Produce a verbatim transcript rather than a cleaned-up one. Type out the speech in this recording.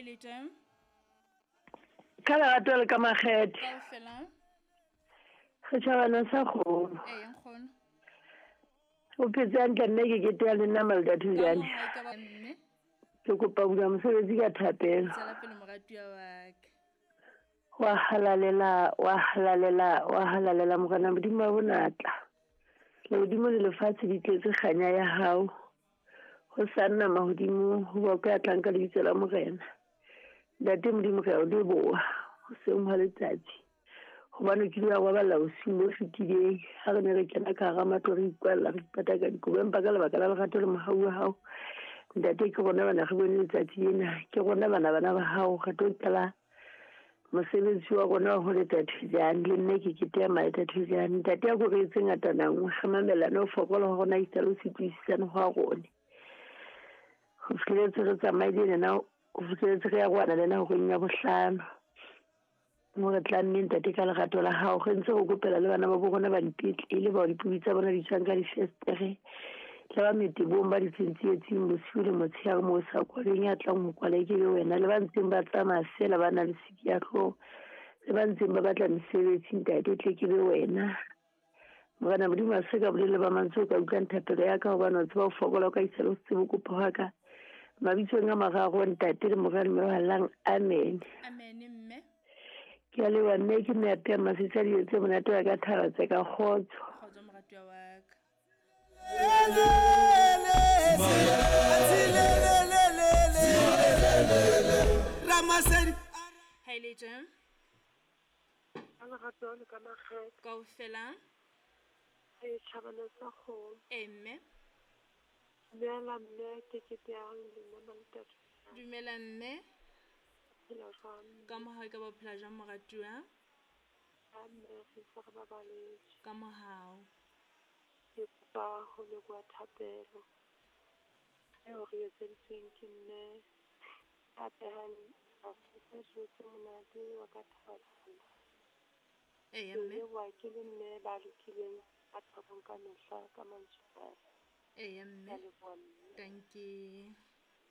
le teng. Ka lerato le ka makgethe. Kaofela. Setjhabana sa kgomo. Ee, nkgono. O phetse hantle mme ke kete ya le nna Malda Thujane. Ka mo hae ka ba mme. Ke kopa ho bula mosebetsi ka thapelo. Tswela pele moratuwa wa ka. Wa halalela, wa halalela, wa halalela Morena Modimo wa bonatla. Lehodimo le lefatshe di tletse kganya ya hao. Ho sa nna mahodimo ho ba ka tlang ka lebitso la Morena. Ntate Modimo re a o leboha hoseng hwa letsatsi. Hobane o kile wa robala bosiung bo fetileng ha re ne re kena ka hara matlo re ikwalla re ipata ka dikobo, empa ka lebaka la lerato le mohau wa hao ntate ke rona bana re bone letsatsi lena, ke rona bana bana ba hao re tlo qala mosebetsi wa rona wa ho leta Thujane. Le nne ke kete ya Malda Thujane. Ntate a ko re etse ngatana nngwe re mamellane ho fokola ho rona esita le ho se utlwisisane hwa rona. Ho fihlelletse re tsamaile lena, ho fihlelletse re ya rwana lena horeng ya bohlano. Mo re tlamme ntate ka lerato la hao re ntse re kopela le bana ba bo rona ba dipetlele bao dipubi tsa bona di tjhang ka difestere le ba metebong ba di tsietsing bosiu le motshehare moo sa kwaleng ya tlang ho kwala ke be wena, le ba ntseng ba tsamaya feela ba na le siki ya hlooho, le ba ntseng ba batla mesebetsi ntate tle ke be wena. Morena Modimo a se ka bolele ba mantswe o ka utlwang thapelo ya ka hobane o tseba ho fokola o ka isa le ho se tsebe kopo hwa ka. Mabitsong a mararo ntate le Mora le Moya o Halalelang, amen. Amen mme. Ke a leboha mme ke mme a masetsa dijo tse monate wa ka thaba tse ka kgotso. Kgotso moratuwa wa ka. Ha le teng. Ka lerato le ka makgethe. Kaofela. E tjhabana sa kgomo. Ee mme. Dumela mme ke kete ya le nna Malda. Dumela mme. Phela jwang? Ka mohau ka ba phela jwang moratuwa? Ha mme re ntse re babaletse. Ka mohau. Ke kopa ho leboha thapelo eo re etseditsweng ke mme a phehang masetsa dijo tse monate wa ka thaba. Ee Ke mme. leboha ke le mme ba lokileng ba thabong ka mehla ka mantswe a. Ee Ke a mme. leboha mme. Dankie.